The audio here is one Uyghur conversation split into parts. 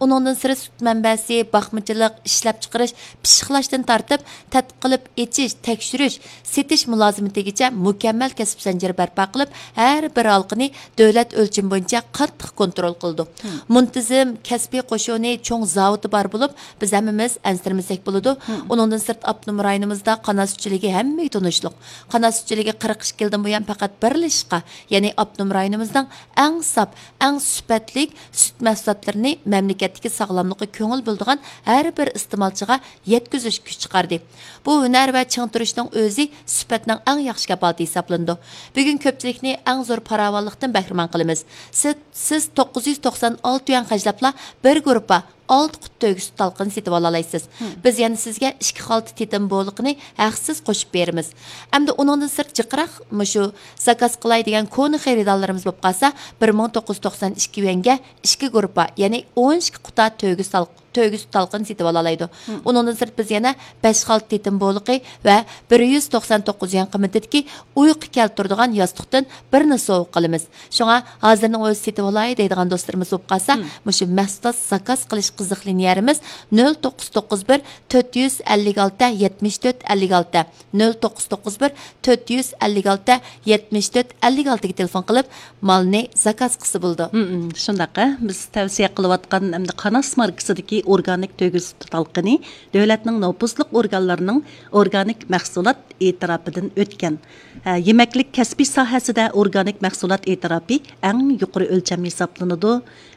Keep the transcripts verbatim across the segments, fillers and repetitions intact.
ئۇنىڭدىن سىرت، سۈت مەنبەسى، باقمىچىلىق، ئىشلەپچىقىرىش، پىششىقلاشتىن تارتىپ، تەتقىق قىلىپ ئېچىش، تەكشۈرۈش، سېتىش مۇلازىمىتىگىچە مۇكەممەل كەسىپ زەنجىرى بەرپا قىلىپ، ھەر بىر ھالقىنى دۆلەت ئۆلچىمى بويىچە قاتتىق كونترول قىلىدۇ. مۇنتىزىم كەسپىي قوشۇنى، چوڭ زاۋۇتى بار بولۇپ، بىز ھەممىمىز ئەنسىرىمىسەك بولىدۇ. ئۇنىڭدىن سىرت، ئاپتونوم رايونىمىزدا قانات سۈتچىلىكى ھەممىگە تونۇشلۇق. قانات سۈتچىلىكى قىرىق ئىككى يىلدىن بۇيان پەقەت بىرلا ئىشقا، يەنى ئاپتونوم رايونىمىزنىڭ ئەڭ ساپ، ئەڭ سۈپەتلىك سۈت مەھسۇلاتلىرىنى مەملىكەتتىكى ساغلاملىققا كۆڭۈل بۆلىدىغان ھەر بىر ئىستېمالچىغا يەتكۈزۈشكە كۈچ چىقاردى. بۇ ھۈنەر ۋە چىڭ تۇرۇشنىڭ ئۆزى سۈپەتنىڭ ئەڭ ياخشى كاپالىتى ھېسابلىنىدۇ. بۈگۈن كۆپچىلىكنى ئەڭ زور پاراۋانلىقتىن بەھرىمەن قىلىمىز. سىز، سىز توققۇز يۈز توقسان ئالتە يۈەن خەجلەپلا بىر گۇرۇپپا ئالتە قۇت تۆگە سۈت تالقىنى سېتىۋالالايسىز. بىز يەنە سىزگە ئىككى خالتا تېتىم بولىقىنى ھەقسىز قوشۇپ بېرىمىز. ئەمدى ئۇنىڭدىن سىرت، جىقراق مۇشۇ زاكاز قىلاي دېگەن كونا خېرىدارلىرىمىز بولۇپ قالسا، بىر مىڭ توققۇز يۈز توقسان ئىككى يۈەنگە ئىككى گۇرۇپپا، يەنى ئون ئىككى قۇتا تۆگە سال-، تۆگە سۈت تالقىنى سېتىۋالالايدۇ. ئۇنىڭدىن سىرت، بىز يەنە بەش خالتا تېتىم بولىقى ۋە بىر يۈز توقسان توققۇز يۈەن قىممىتىدىكى ئۇيقۇ كەلتۈرىدىغان ياستۇقتىن بىرنى سوۋغا قىلىمىز. شۇڭا ھازىرنىڭ ئۆزى سېتىۋالاي دەيدىغان دوستلىرىمىز بولۇپ قالسا، مۇشۇ مەھسۇلات زاكاز قىلىش قىزىقلىنىش يەرىمىز نۆل توققۇز توققۇز بىر، تۆت يۈز ئەللىك ئالتە، يەتمىش تۆت، ئەللىك ئالتە، نۆل توققۇز توققۇز بىر، تۆت يۈز ئەللىك ئالتە، يەتمىش تۆت، ئەللىك ئالتىگە تېلېفون قىلىپ، مالنى زاكاز قىلسا بولىدۇ. ھم، شۇنداق، ھە. بىز تەۋسىيە قىلىۋاتقان ئەمدى قاناس ماركىسىدىكى ئورگانىك تۆگە سۈتى تالقىنى دۆلەتنىڭ نوپۇزلۇق ئورگانلىرىنىڭ ئورگانىك مەھسۇلات ئېتىراپىدىن ئۆتكەن. ھە، يېمەكلىك كەسپى ساھەسىدە ئورگانىك مەھسۇلات ئېتىراپى ئەڭ يۇقىرى ئۆلچەم ھېسابلىنىدۇ.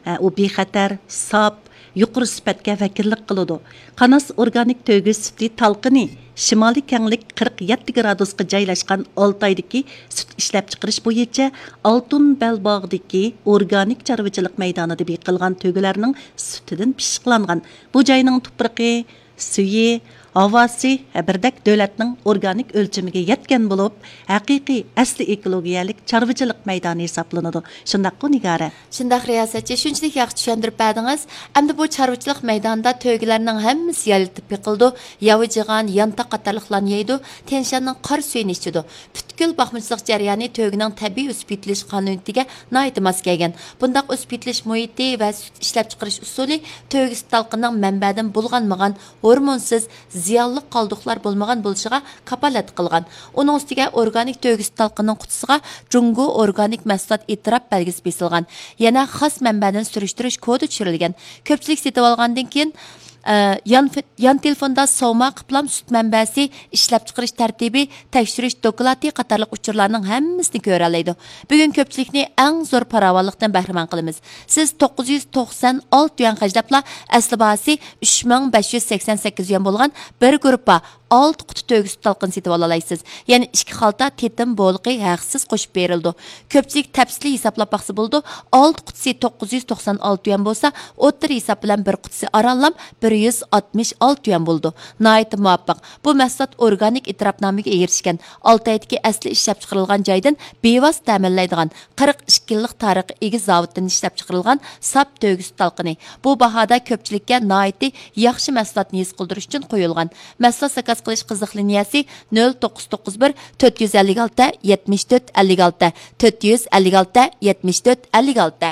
ھە، ئۇ بىخەتەر، ساپ، يۇقىرى سۈپەتكە ۋەكىللىك قىلىدۇ. قاناس ئورگانىك تۆگە سۈتى تالقىنى شىمالىي كەڭلىك قىرىق يەتتە گرادۇسقا جايلاشقان ئالتايدىكى سۈت ئىشلەپچىقىرىش بويىچە ئالتۇن بەلباغدىكى ئورگانىك چارۋىچىلىق مەيدانىدا بېقىلغان تۆگىلەرنىڭ سۈتىدىن پىششىقلانغان. بۇ جاينىڭ تۇپرىقى، سۈيى، ھاۋاسى بىردەك دۆلەتنىڭ ئورگانىك ئۆلچىمىگە يەتكەن بولۇپ، ھەقىقىي ئەسلى ئېكولوگىيەلىك چارۋىچىلىق مەيدانى ھېسابلىنىدۇ. شۇنداققۇ، نىگارە؟ شۇنداق، رىياسەتچى، شۇنچىلىك ياخشى چۈشەندۈرۈپ بەردىڭىز. ئەمدى بۇ چارۋىچىلىق مەيدانىدا تۆگىلەرنىڭ ھەممىسى يايلىتىپ بېقىلىدۇ. ياۋىجىغان، يانتاق قاتارلىقلارنى يەيدۇ، تيەنشاننىڭ قارا سۈيىنى ئىچىدۇ. پۈتكۈل باقمىچىلىق جەريانى تۆگىنىڭ تەبىئىي ئۆسۈپ يېتىلىش قانۇنىيىتىگە ناھايىتى ماس كەلگەن. بۇنداق ئۆسۈپ يېتىلىش مۇھىتى ۋە سۈت ئىشلەپچىقىرىش ئۇسۇلى تۆگە سۈت تالقىنىنىڭ مەنبەدىن بۇلغانمىغان، ھورمونسىز، زىيانلىق قالدۇقلار بولمىغان بولۇشىغا كاپالەتلىك قىلغان. ئۇنىڭ ئۈستىگە ئورگانىك تۆگە سۈت تالقىنىنىڭ قۇتىسىغا جۇڭگو ئورگانىك مەھسۇلات ئېتىراپ بەلگىسى بېسىلغان. يەنە خاس مەنبەدىن سۈرۈشتۈرۈش كودى چۈشۈرۈلگەن. كۆپچىلىك سېتىۋالغاندىن كېيىن، ئە، يان، يان تېلېفوندا سوۋما قىپلام سۈت مەنبەسى، ئىشلەپچىقىرىش تەرتىپى، تەكشۈرۈش دوكلاتى قاتارلىق ئۇچۇرلارنىڭ ھەممىسىنى كۆرەلەيدۇ. بۈگۈن كۆپچىلىكنى ئەڭ زور پاراۋانلىقتىن بەھرىمەن قىلىمىز. سىز توققۇز يۈز توقسان ئالتە يۈەن خەجلەپلا ئەسلى باھاسى ئۈچ مىڭ بەش يۈز سەكسەن سەككىز يۈەن بولغان بىر گۇرۇپپا ئالتە قۇتا تۆگە سۈت تالقىنى سېتىۋالالايسىز. يەنە ئىككى خالتا تېتىم بولىقى ھەقسىز قوشۇپ بېرىلىدۇ. كۆپچىلىك تەپسىلىي ھېسابلاپ باقسا بولىدۇ. ئالتە قۇتىسى توققۇز يۈز توقسان ئالتە يۈەن بولسا، ئوتتۇرا ھېساب بىلەن بىر قۇتىسى ئارانلا بىر يۈز ئاتمىش ئالتە يۈەن بولىدۇ. ناھايىتى مۇۋاپىق. بۇ مەھسۇلات ئورگانىك ئېتىراپنامىگە ئېرىشكەن، ئالتايدىكى ئەسلى ئىشلەپچىقىرىلغان جايدىن بىۋاسىتە تەمىنلەيدىغان، قىرىق ئىككى يىللىق تارىخقا ئىگە زاۋۇتتىن ئىشلەپچىقىرىلغان ساپ تۆگە سۈت تالقىنى. بۇ باھادا كۆپچىلىككە ناھايىتى ياخشى مەھسۇلاتنى ھېس قىلدۇرۇش ئۈچۈن قويۇلغان. مەھسۇلات زاكاز قىلىش قىزىق لىنىيەسى نۆل توققۇز توققۇز بىر، تۆت يۈز ئەللىك ئالتە، يەتمىش تۆت، ئەللىك ئالتە، تۆت يۈز ئەللىك ئالتە، يەتمىش تۆت، ئەللىك ئالتە.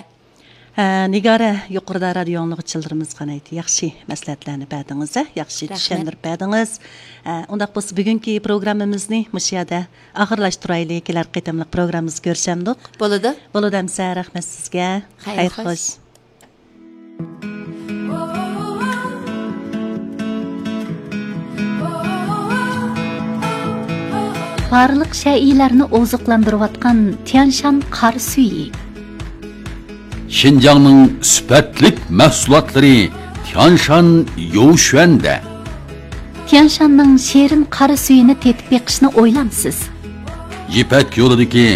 ھە، نىگارە، يۇقىرىدا رادىيو ئاڭلىغۇچىلىرىمىزغا ناھايىتى ياخشى مەسلىھەتلەرنى بەردىڭىز، ھە، ياخشى رەھمەت. چۈشەندۈرۈپ بەردىڭىز. ھە، ئۇنداق بولسا بۈگۈنكى پروگراممىمىزنى مۇشۇ يەردە ئاخىرلاشتۇرايلى، كېلەر قېتىملىق پروگراممىمىزدا كۆرۈشەمدۇق. بولىدۇ. بولىدۇ ئەمسە، رەھمەت سىزگە. خەير خوش. بارلىق شەيئىلەرنى ئوزۇقلاندۇرۇۋاتقان تيانشان قارا سۈيى. شىنجاڭنىڭ سۈپەتلىك مەھسۇلاتلىرى تيانشان يوۋشۈەندە. تيانشاننىڭ شېرىن قارا سۈيىنى تېتىپ بېقىشنى ئويلامسىز؟ يىپەك يولىدىكى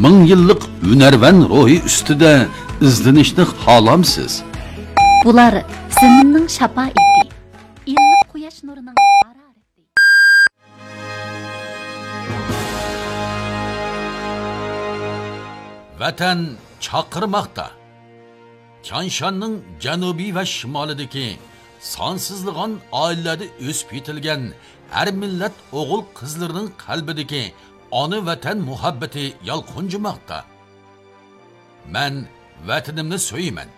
مىڭ يىللىق ھۈنەرۋەن روھى ئۈستىدە ئىزدىنىشنى خالامسىز؟ بۇلار زېمىننىڭ شاپائىتى، ئىللىق قۇياش نۇرىنىڭ ھارارىتى. ۋەتەن چاقىرماقتا. تيانشاننىڭ جەنۇبى ۋە شىمالىدىكى سانسىزلىغان ئائىلىلەردە ئۆسۈپ يېتىلگەن ھەر مىللەت ئوغۇل-قىزلىرىنىڭ قەلبىدىكى ئانا ۋەتەن مۇھەببىتى يالقۇنجىماقتا. مەن ۋەتىنىمنى سۆيىمەن.